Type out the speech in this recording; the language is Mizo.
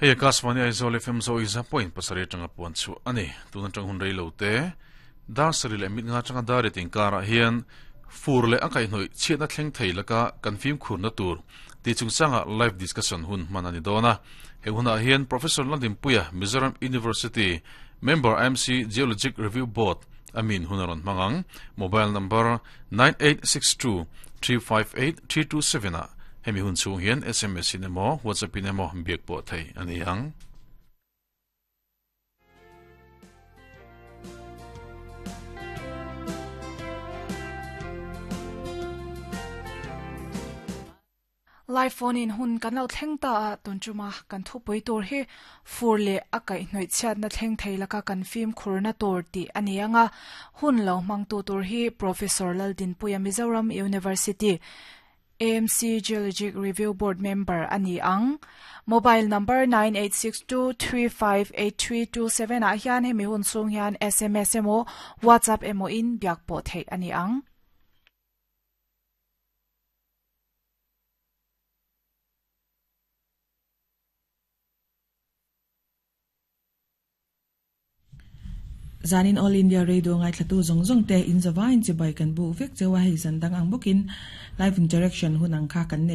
Hei Akashvani Aizawl FM Zo Iza point pasarih atanga puan chhuah a ni. Tun atang hun rei lo te, dar sarih leh mit nga atanga dar riat inkarah hian fur leh a kaihhnawih chhiatna thleng thei laka kan fimkhurna tur tih chungchangah live discussion hun hman a ni dawn a. He hunah hian Professor Lalhlimpuia, Mizoram University Member IMC Geologic Review Board a min hun a rawn hmang ang. Mobile number 9862 358 327 ah hemi hun chhung hian sms in emaw WhatsApp in emaw biak pawh thei a ni ang. Live phone in hun kan lo thleng ta a, tun chuma kan thupui tur hi fur leh a kaihhnawih chhiatna thleng thei laka kan fimkhurna tur tih a ni ang a, hun lo hmangtu tur hi Professor Laldinpuia Mizoram University AMC Geologic Review Board member a ni ang. Mobile number 9862358327 ah hian hemi hun chhung hian sms emaw WhatsApp emaw in biak pawh theih a ni ang. Zanin All India Radio ngaithlatu zawng zawng te in zavaiin chibai kan buk vek cheu a, hei zan dang ang bawkin live interaction hun ang kha kan nei.